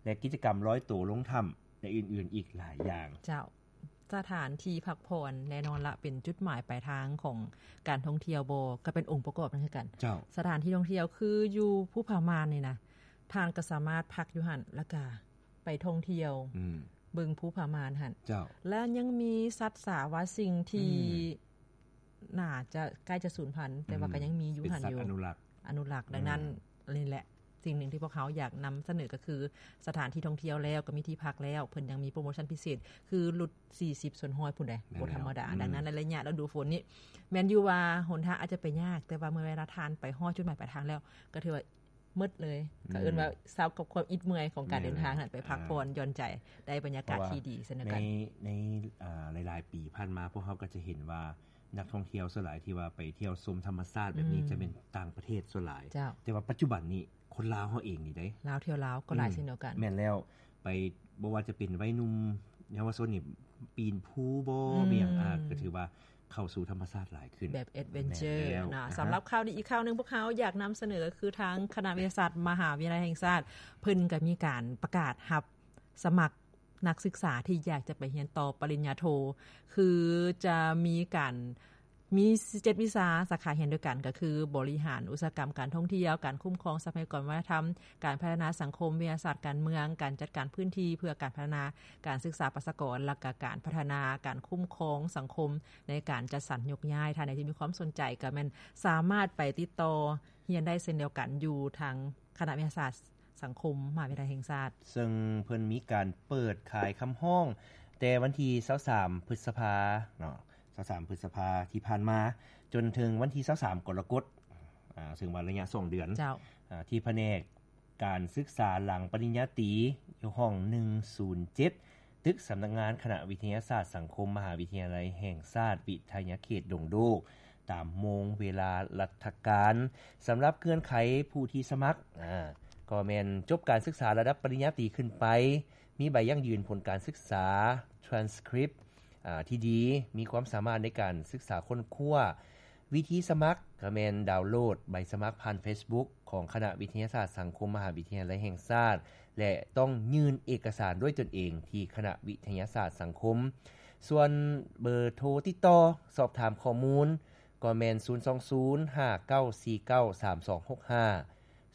ແລະ ກິດຈະກຳລອຍໂຕລົງຖ້ຳ ແລະ ອື່ນໆອີກຫຼາຍຢ່າງ. ເຈົ້າ. ສະຖານທີ່ພັກຜ່ອນແນ່ນອນລະ ເປັນຈຸດໝາຍປາຍທາງຂອງການທ່ອງທ່ຽວບໍ່ ກໍເປັນອົງປະກອບນັ້ນຄືກັນ. ເຈົ້າ. ສະຖານທີ່ທ່ອງທ່ຽວຄືຢູ່ພູຜາມ່ານນີ້ນະ ທ່ານກໍສາມາດພັກຢູ່ຫັ້ນ ແລ້ວກໍໄປທ່ອງທ່ຽວ ອືມ ເບິ່ງພູຜາມ່ານຫັ້ນ. ເຈົ້າ. ແລະ ຍັງມີສັດສາວາສິ່ງທີ່ ອືມ ໜ້າຈະໃກ້ຈະສູນພັນ ແຕ່ວ່າ ອືມ ກໍຍັງມີຢູ່ຫັ້ນຢູ່ ເປັນສັດອະນຸລັກ ອະນຸລັກ. ອືມ. ດັ່ງນັ້ນ ນີ້ແຫຼະ ສິ່ງໜຶ່ງທີ່ພວກເຮົາຢາກນຳສະເໜີກໍຄື ສະຖານທີ່ທ່ອງທ່ຽວແລ້ວ ກໍມີທີ່ພັກແລ້ວ ເພິ່ນຍັງມີໂປຣໂມຊັນພິເສດ ຄືຫຼຸດສີ່ສິບສ່ວນຮ້ອຍພຸ້ນເດ້. ແມ່ນແລ້ວ ບໍ່ທຳມະດາ. ອືມ. ດັ່ງນັ້ນ ໃນໄລຍະລະດູຝົນນີ້ ແມ່ນຢູ່ວ່າຫົນທາງອາດຈະໄປຍາກ ແຕ່ວ່າເມື່ອເວລາທ່ານໄປຮອດຈຸດໝາຍປາຍທາງແລ້ວ ກໍຖືວ່າໝົດເລີຍ. ອືມ. ກໍເອີ້ນວ່າເຊົາກັບຄວາມອິດເມື່ອຍຂອງການ ແມ່ນ ເດີນທາງນັ້ນ ໄປພັກຜ່ອນ ອ່າ ຢ່ອນໃຈ ໄດ້ບັນຍາກາດທີ່ດີເຊັ່ນດຽວກັນ. ໃນ ໃນ ອ່າ ຫຼາຍໆປີຜ່ານມາ ພວກເຮົາກໍຈະເຫັນວ່າ ນັກທ່ອງທ່ຽວສ່ວນຫຼາຍທີ່ວ່າໄປທ່ຽວຊົມທຳມະຊາດແບບນີ້ ອືມ ຈະແມ່ນຕ່າງປະເທດສ່ວນຫຼາຍ. ເຈົ້າ. ແຕ່ວ່າປັດຈຸບັນນີ້ ຄົນລາວເຮົາເອງນີ້ເດ້ ລາວທ່ຽວລາວກໍຫຼາຍ ອືມ ເຊັ່ນດຽວກັນ. ແມ່ນແລ້ວ ໄປ ບໍ່ວ່າຈະເປັນໄວໜຸ່ມເຍົາວະຊົນນີ້ ປີນພູບໍ ອືມ ມີຫຍັງ ອ່າ ກໍຖືວ່າເຂົ້າສູ່ທຳມະຊາດຫຼາຍຂຶ້ນ ແບບແອັດເວັນເຈີ. ແມ່ນແລ້ວ. ນະ ອ່າຮະ. ສຳລັບຂ່າວດີອີກຂ່າວໜຶ່ງ ພວກເຮົາຢາກນຳສະເໜີ ກໍຄືທາງຄະນະວິທະຍາສາດມະຫາວິທະຍາໄລແຫ່ງຊາດ ເພິ່ນກໍມີການປະກາດຮັບສະໝັກ ນັກສຶກສາທີ່ຢາກຈະໄປຮຽນຕໍ່ປະລິນຍາໂທ ຄືຈະມີການ ມີເຈັດວິຊາສາຂາຮຽນດ້ວຍກັນ ກໍຄື ບໍລິຫານອຸດສາຫະກຳການທ່ອງທ່ຽວ, ການຄຸ້ມຄອງຊັບພະຍາກອນວັດທະນະທຳ, ການພັດທະນາສັງຄົມ, ວິທະຍາສາດການເມືອງ, ການຈັດການພື້ນທີ່ເພື່ອການພັດທະນາ, ການສຶກສາປະຊາກອນ ແລະ ກະການພັດທະນາການຄຸ້ມຄອງສັງຄົມໃນການຈັດສັນໂຍກຍ້າຍ. ທ່ານໃດທີ່ມີຄວາມສົນໃຈກໍແມ່ນສາມາດໄປຕິດຕໍ່ຮຽນໄດ້ເຊັ່ນດຽວກັນ ຢູ່ທາງຄະນະວິທະຍາສາດ ສັງຄົມມະຫາວິທະຍາໄລແຫ່ງຊາດ ເຊິ່ງເພິ່ນມີການເປີດຂາຍຄຳຮ້ອງແຕ່ວັນທີຊາວສາມ ພຶດສະພາເນາະ ຊາວສາມ ພຶດສະພາທີ່ຜ່ານມາ ຈົນເຖິງວັນທີຊາວສາມ ກໍລະກົດ ອາ ເຊິ່ງວ່າໄລຍະສອງເດືອນ ເຈົ້າ ອາ ທີ່ພະແນກການສຶກສາຫຼັງປະລິນຍາຕີ ຢູ່ຫ້ອງໜຶ່ງສູນເຈັດ ຕຶກສຳນັກງານຄະນະວິທະຍາສາດສັງຄົມ ມະຫາວິທະຍາໄລແຫ່ງຊາດ ວິທະຍາເຂດດົງໂດກ ຕາມໂມງເວລາລັດຖະການ. ສຳລັບເງື່ອນໄຂຜູ້ທີ່ສະໝັກ ອາ ກໍແມ່ນຈົບການສຶກສາລະດັບປະລິນຍາຕີຂຶ້ນໄປ, ມີໃບຢັ້ງຢືນຜົນການສຶກສາ, ທຣານສະຄຣິບ ອາ ທີ່ດີ, ມີຄວາມສາມາດໃນການສຶກສາຄົ້ນຄວ້າ. ວິທີສະໝັກກໍແມ່ນດາວໂຫຼດໃບສະໝັກຜ່ານເຟສບຸກຂອງຄະນະວິທະຍາສາດສັງຄົມ ມະຫາວິທະຍາໄລແຫ່ງຊາດ ແລະ ຕ້ອງຍື່ນເອກະສານດ້ວຍຕົນເອງທີ່ຄະນະວິທະຍາສາດສັງຄົມ. ສ່ວນເບີໂທຕິດຕໍ່ສອບຖາມຂໍ້ມູນ ກໍແມ່ນ ສູນສອງສູນ ຫ້າເກົ້າສີ່ເກົ້າ ສາມສອງຫົກຫ້າ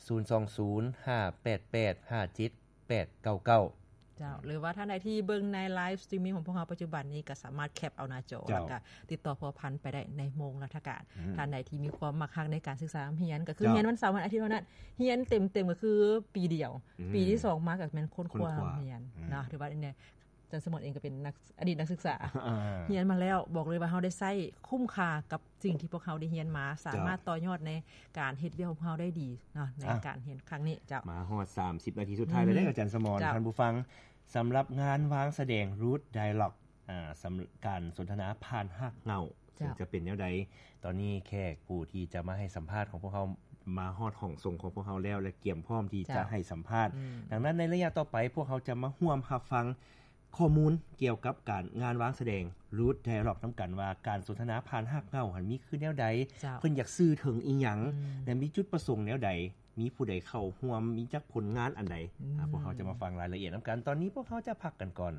ສູນສອງສູນ ຫ້າແປດແປດ ຫ້າເຈັດແປດເກົ້າເກົ້າ. ເຈົ້າ ຫຼືວ່າທ່ານໃດທີ່ເບິ່ງໃນໄລຟ໌ສະຕຣີມມິງຂອງພວກເຮົາປັດຈຸບັນນີ້ ກໍສາມາດແຄັບເອົາໜ້າຈໍ ເຈົ້າ ແລ້ວກໍຕິດຕໍ່ພົວພັນໄປໄດ້ໃນໂມງລັດຖະການ. ອືມ ທ່ານໃດທີ່ມີຄວາມມັກຮັກໃນການສຶກສາຮຽນ ກໍຄື ເຈົ້າ ຮຽນວັນເສົາວັນອາທິດເທົ່ານັ້ນ ຮຽນເຕັມໆກໍຄືປີດຽວ. ອືມ ປີທີສອງມາກໍແມ່ນຄົ້ນຄວ້າ ຄົ້ນຄວ້າຮຽນ ອືມ ເນາະ ຖືວ່າອັນນີ້ ອາຈານສະໝອນເອງກໍເປັນນັກ ອະດີດນັກສຶກສາ ອ່າ ຮຽນມາແລ້ວ ບອກເລີຍວ່າເຮົາໄດ້ໃຊ້ຄຸ້ມຄ່າກັບສິ່ງທີ່ພວກເຮົາໄດ້ຮຽນມາ ເຈົ້າ ສາມາດຕໍ່ຍອດໃນການເຮັດວຽກຂອງພວກເຮົາໄດ້ດີເນາະ ໃນ ອ່າ ການຮຽນຄັ້ງນີ້. ເຈົ້າ ມາຮອດສາມສິບນາທີສຸດທ້າຍແລ້ວເດ້ ອືມ ອາຈານສະໝອນ ເຈົ້າ ທ່ານຜູ້ຟັງ ສຳລັບງານວາງສະແດງ Root Dialogue ອ່າ ສຳ ການສົນທະນາຜ່ານຮາກເຫງົ້າ ເຈົ້າ ເຊິ່ງຈະເປັນແນວໃດ? ຕອນນີ້ແຂກຜູ້ທີ່ຈະມາໃຫ້ສຳພາດຂອງພວກເຮົາມາຮອດຫ້ອງສົ່ງຂອງພວກເຮົາແລ້ວ ແລະ ກຽມພ້ອມທີ່ຈະ ເຈົ້າ ໃຫ້ສຳພາດ. ອືມ ດັ່ງນັ້ນໃນໄລຍະຕໍ່ໄປ ພວກເຮົາຈະມາຮ່ວມຮັບຟັງ ຂໍ້ມູນກ່ຽວກັບການ ງານວາງສະແດງ Root Dialogue ນຳກັນວ່າ ການສົນທະນາຜ່ານຮາກເຫງົ້າຫັ້ນມີຄືແນວໃດ, ເຈົ້າ ເພິ່ນຢາກສື່ເຖິງອີ່ຫຍັງ ອືມ ແລະ ມີຈຸດປະສົງແນວໃດ, ມີຜູ້ໃດເຂົ້າຮ່ວມ, ມີຈັກຜົນງານອັນໃດ. ອືມ ອາ ພວກເຮົາຈະມາຟັງລາຍລະອຽດນຳກັນ. ຕອນນີ້ພວກເຮົາຈະພັກກັນກ່ອນ.